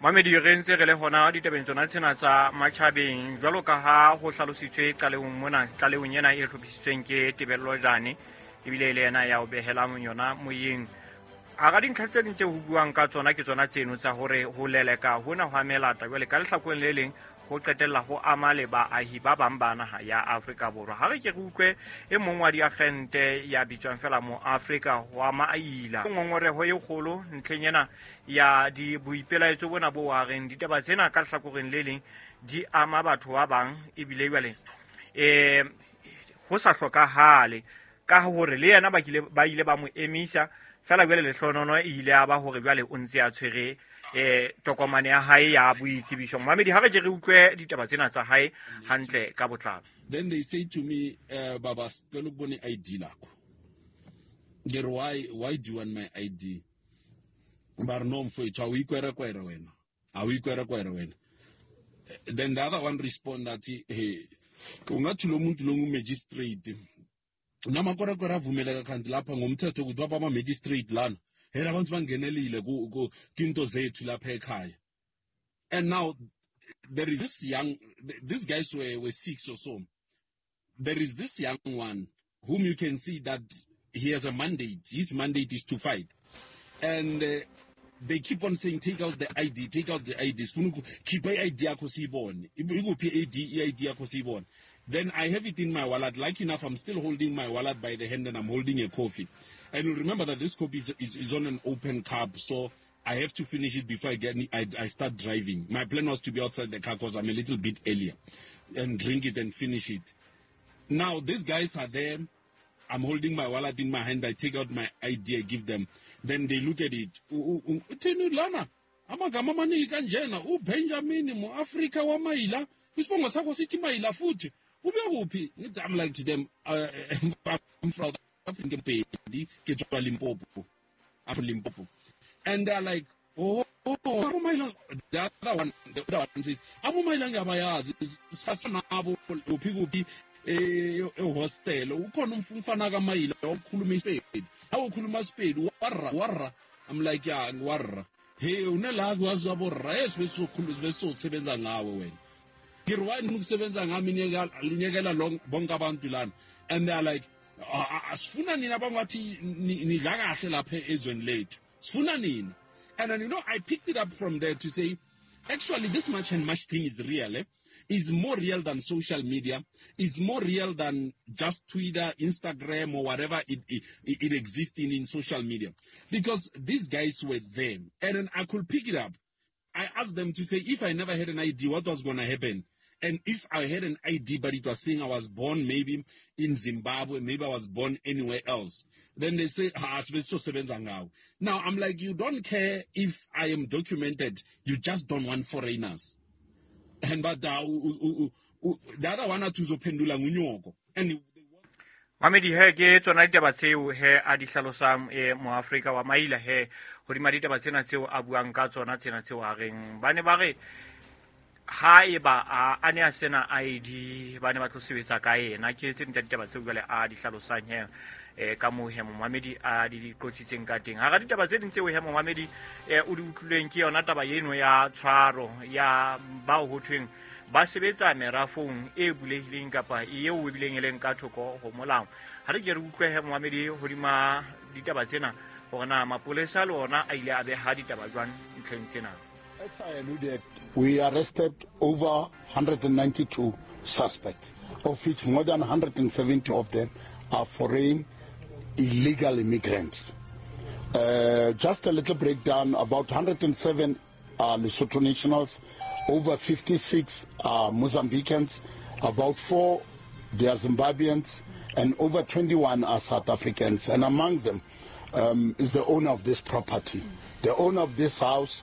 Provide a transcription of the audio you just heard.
Mamedi, re ntse re le hona ditabeng tsona tsena tsa matjhabeng, jwalo ka ha ho hlalositswe qalehong mona, tlalehong ena e hlophisitsweng ke Tebello Jane, ebile e le yena ya o behelang yona moyeng. Hara dintlha tse ding tse ho buang ka tsona ke tsona tseno tsa hore ho leleka hona ho amelata jwale ka lehlakoreng le leng ho qetella ho ama le baahi ba bang ba naha ya Afrika Borwa. Ha re ke re utlwe e mong wa diagente ya bitswang fela mo Afrika wa Maila, ngongoreho e kgolo ntlheng ena ya di boipelaetso bona bo wa reng ditaba tsena ka lehlakoreng le leng di ama batho ba bang, ebile jwale ho sa hlokahale ka hore le yena ba ile ba mo emisa fela. Jwale lehlonono e ile ya ba hore jwale o ntse a tshwere tokomane ya hae ya boitsebiso. Mamedi, ha re ke re utlwe ditaba tsena tsa hae hantle ka botlalo. Then they say to me, "Baba, sicela ukubona i-ID lakho." Ngithi, Why do you want my ID?" Ba re, "No mfowethu, awuyikwerekwere wena, awuyikwerekwere wena." Then the other one respond athi, "Hey, ungathi lo muntu lo ngu-magistrate, namakwerekwere avumeleka kanti lapha ngomthetho ukuthi baba ama-magistrate lana hela abantu bangenelile kinto zethu lapha ekhaya." And now there is this young, these guys were six or so. There is this young one whom you can see that he has a mandate. His mandate is to fight. And they keep on saying, "Take out the ID, take out the ID. Sifuna khipha i-ID yakho siyibone. Ikuphi i-ID, i-ID yakho siyibone." Then I have it in my wallet. Like enough, I'm still holding my wallet by the hand and I'm holding a coffee. And you remember that this coffee is on an open cup, so I have to finish it before I start driving. My plan was to be outside the car because I'm a little bit earlier and drink it and finish it. Now, these guys are there. I'm holding my wallet in my hand. I take out my ID, I give them. Then they look at it. Uthini lana? Amagama amaningi kanjena. uBenjamin mu-Afrika waMayila. Isibongo sakho sithi Mayila futhi. Ube kuphi? Ngithi, I'm like to them, "I'm from Africa, Pedi, ke tswa Limpopo. I'm from Limpopo." And they're like, Oh, aboMayila." The other one says, "AboMayila ngiyabayazi, sifasa nabo kuphi kuphi ehostel. Ukhona umfana kaMayila okhuluma isipedi. Awukhuluma isipedi, warra warra." I'm like, "Yeah, ngiwarra." "Hey, unelaki wazi aborra, yes, besizokhuluma, besizosebenza ngawe wena." Ngithi, "Why ukusebenza ngami linyekela bonke abantu lana?" And they are like, "Asifuna nina abangathi nidla kahle lapha ezweni lethu. Sifuna nina." And then, I picked it up from there to say, actually, this March and March thing is real. Eh? Is more real than social media. Is more real than just Twitter, Instagram, or whatever it exists in social media. Because these guys were there. And then I could pick it up. I asked them to say, if I never had an ID, what was going to happen? And if I had an ID, but it was saying I was born maybe in Zimbabwe, maybe I was born anywhere else. Then they say, "Ah, sibesosebenza ngawe." Now I'm like, you don't care if I am documented. You just don't want foreigners. And but the other one athi uzophendula ngunyoko. And Mamedi, he ke tsona ditaba tseo he a di hlalosang moAfrika wa Maila he hodima ditaba tsena tseo a buang ka tsona tsena tseo a reng ba ne ba re ha eba a ne a sena ID ba ne ba tlo sebetsa ka yena. Ke tse ding tsa ditaba tseo jwale a di hlalosang he ka moo he momamedi a di qotsitseng ka teng. Hara ditaba tse ding tseo he momamedi o di utlwileng ke yona taba eno ya tshwaro ya bao ho thweng ba sebetsa merafong e bulehileng kapa eo ebileng e leng ka thoko ho molao. Ha re ke re utlwe he momamedi hodima ditaba tsena hore na mapolesa le ona a ile a beha ditaba jwang ntlheng tsena. As I alluded, we arrested over 192 suspects, of which more than 170 of them are foreign illegal immigrants. Just a little breakdown, about 107 are Lesotho nationals, over 56 are Mozambicans, about 4 they are Zimbabweans, and over 21 are South Africans. And among them is the owner of this property. The owner of this house